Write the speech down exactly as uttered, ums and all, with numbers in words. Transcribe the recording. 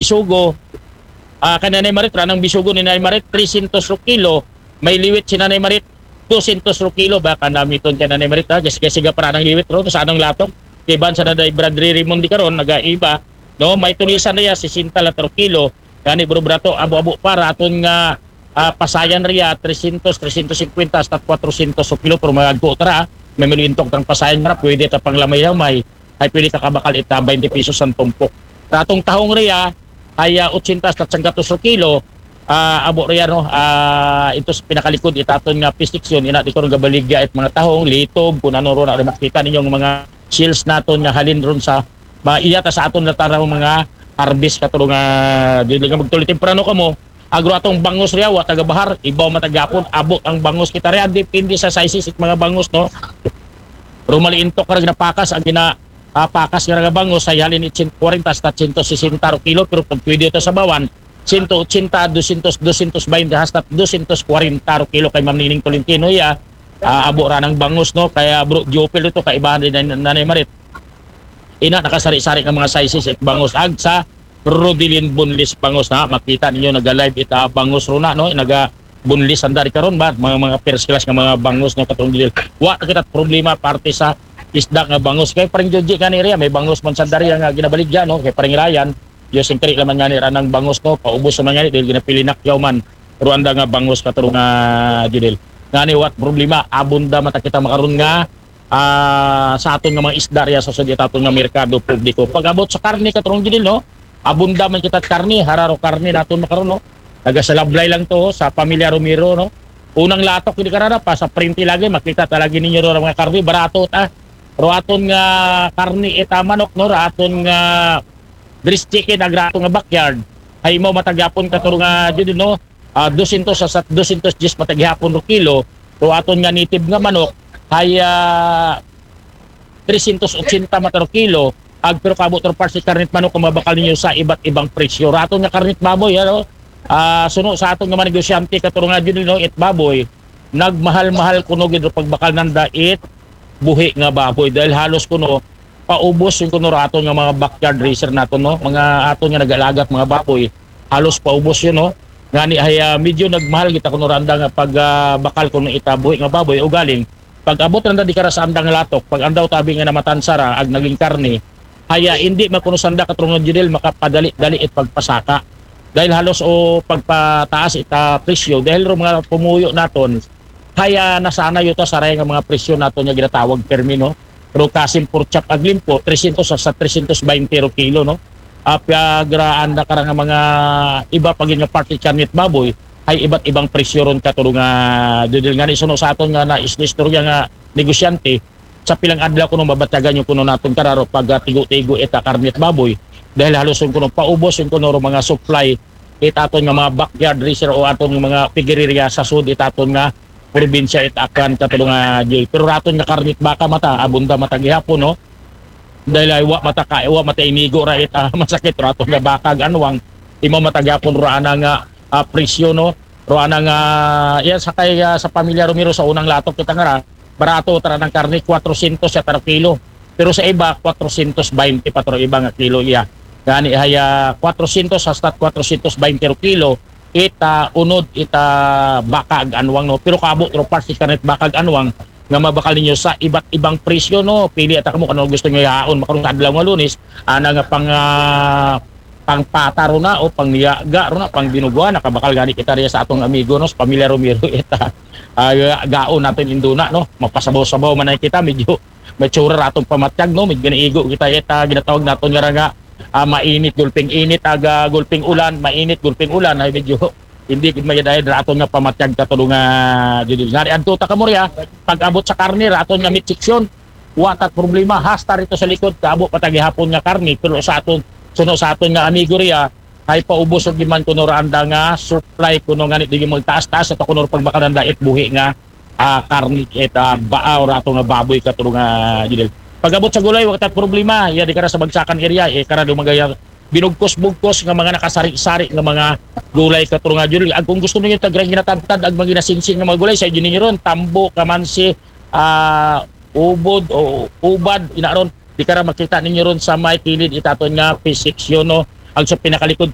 bisugo. Ah, kay Nanay Marit, ranang bisugo ni Nanay Marit, tresyentos ro kilo. May liwit si Nanay Marit, dosyentos ro kilo. Baka namiton kay Nanay Marit, ha? Kasi, kasi ga para ng liwit ro, sa anong latong. Kiban sa Nanay Bradley Raymond di karon, nagaiba, no? May tulisan na ya, sesenta la ro kilo. Gani, bro, brato, abo-abo para aton nga ah, pasayan riya, tresyentos, tresyentos singkwenta, hasta kwatrosyentos so kilo, pero magagko tara, may maluintok tang pasayan ra, pwede ta pang lamay-lamay, ay pwede ka kabakal ita, baynte pesos ang tumpok. Ratong tahong riya, ay ah, otsenta hasta sanggatos so kilo, ah, abo riya, no, ah, ito sa pinakalikod, itaton nga pisiksyon, ina di ko rin gabaligya it mga tahong, litob, kung ano ro na, makita ninyong mga shells naton nga halin ron sa, ma, iya ta sa aton na taraw mga harvest katulong nga, di nga magtuloy temprano kamo, agro atong bangus riya, wa taga bahar, ibaw matagapon, abot ang bangus kita riya, depende sa sizes it mga bangus, no? Pero maliintok ka rin napakas, ang gina, ah, pakas nga nga bangus, ay halin it sento kwarenta hasta sento sesenta ro kilo, pero pag pwede ito sa bawan, sento otsenta, dosyentos, dosyentos baynte, hasta dosyentos kwarenta ro kilo kay Ma'am Nining Tolentino, iya, ah, abo ra ng bangus, no? Kaya bro, Jopel ito, kaibahan din na, Nanay Marit. Ina, nakasari-sari nga mga sizes it bangus. Ag sa Rodelin Bunlis bangus na. Makita ninyo, naga-live ita bangus ro na, no? Naga bunlis ang dari karon ba? Mga, mga first class nga mga bangus, no? Katong dil. Wa na kita problema parte sa isda nga bangus. Kay parang Joji ka ni Ria, may bangus man sa dari nga ginabaligya, no? Kay parang Ryan, Diyos yung kari naman nga ni Ranang bangus, no? Paubos naman nga ni, dahil ginapilinak yaw man. Ruanda nga bangus katong nga Judel. Nga ni, what problema? Abunda mata kita makaron nga ah, sa aton nga mga isda riya sa sud it aton nga merkado publiko. Pag-abot sa karne, Katrong Judel, no? Abunda man kita karne, hararo karne naton makaron, no? Taga sa Lablay lang to, sa pamilya Romero, no? Unang latok, hindi karara pa, sa printe lagi, makita ta lagi ninyo ro mga karne, barato ta. Ro aton nga karne, ita manok, no? Ro aton nga breast chicken, agrato nga backyard. Ay mo matagyapon Katrong nga Judel, no? Ah, dosyentos sa, sa dosyentos diyes matagyapon ro kilo. Ro aton nga native nga manok, ay ah, tresyentos otsenta mata ro kilo. Ag pero kabot ro parsi karnit manok kung mabakal ninyo sa iba't ibang presyo. Raton nga karnit baboy, ano? Ah, suno sa aton nga mga negosyante, Katrong nga Judel, no, it baboy, nagmahal-mahal kuno gid ro pagbakal nanda it buhi nga baboy. Dahil halos kuno, paubos yung kuno raton nga mga backyard raiser naton, no? Mga aton nga nag-alagat mga baboy. Halos paubos yun, no? Ngani ay ah, medyo nagmahal kita kuno randa nga pag ah, bakal kuno ita buhi nga baboy. Ugaling, pag abot randa di kara sa andang latok, pag andaw tabi nga namatan sara ag naging karne, haya hindi makuno sanda, Katrong Judel, makapadali-dali it pagpasaka. Dahil halos o pagpataas ita presyo, dahil ro mga pumuyo naton, haya nasanay yuta saray nga mga presyo naton nga ginatawag permi, no? Pero kasim pork chop ag limpo, tresyentos sa tresyentos baynte ro kilo, no? Ah, piagraan na karang nga mga iba pa gid nga parte karnit baboy, ay iba't ibang presyo ron, Katrong nga Judel. Ngani suno sa aton nga na istorya nga negosyante, sa pilang adlaw kuno mabatyagan yung kuno naton kararo pag ah, tigo-tigo ita karnit baboy. Dahil halos yung kuno paubos yung kuno ro mga supply it aton nga mga backyard raiser o aton nga mga piggeria sa sud it aton nga probinsya it Aklan, Katrong nga Jay. Pero raton nga karnit baka mata, abunda mata gihapon, no? Dahil ay wa mata ka, wa mata inigo ra it ah, masakit raton nga baka ag anwang. Imo mata gihapon ro ana nga ah, presyo, no? Ro ana nga, yan sa kay ah, sa pamilya Romero sa unang latok kita nga ra, barato tara ng karne, kwatrosyentos sa tara kilo. Pero sa iba, kwatrosyentos baynte pa taro iba nga kilo iya. Gani haya kwatrosyentos hasta kwatrosyentos baynte ro kilo, ita unod, ita baka ag anwang, no? Pero kaabot ro parsi karnit baka ag anwang nga mabakal ninyo sa iba't ibang presyo, no? Pili ata kamo kung ano gusto nyo yaon. Makaroon sa adlaw nga Lunes, ana nga pang ah, pang pata ro na o pang niyaga ro na, pang binuguan, nakabakal gani kita riya sa atong amigo, no, sa pamilya Romero ita. Ah, gaon natin induna, no, mapasabaw-sabaw man ay kita, medyo matsura ra atong pamatyag, no, medyo ginaigo kita ita, ginatawag naton nga ra nga ah, mainit gulping init, aga gulping ulan, mainit gulping ulan, ay medyo hindi gid mayad-ayad ra aton nga pamatyag, Katrong nga Judel. Ngani adto ta kamo riya, pag-abot sa karne ra aton nga meat section, wa tat problema, hasta rito sa likod kaabot pa ta gihapon nga karne, pero sa aton, suno sa aton nga amigo riya, ay paubos og giman kuno ra anda nga supply kuno ngani di magtaas-taas sa kuno pagbakal anda it buhi nga ah, karne it ah, baa o rato nga baboy, Katrong nga Judel. Pag-abot sa gulay, wa tat problema, iya di kara sa Bagsakan area, eh, kara do magaya binugkos-bugkos nga mga nakasari-sari nga mga gulay, Katrong nga Judel. Ag kung gusto ninyo tagrang ginatadtad ag mga ginasinsin nga mga gulay, sa inyo ninyo ron, tambo, kamansi, ah, ubod o ubad, ina ron, di kara makita ninyo ron sa may kilid it aton nga fish section, no? Ag sa pinakalikod ko,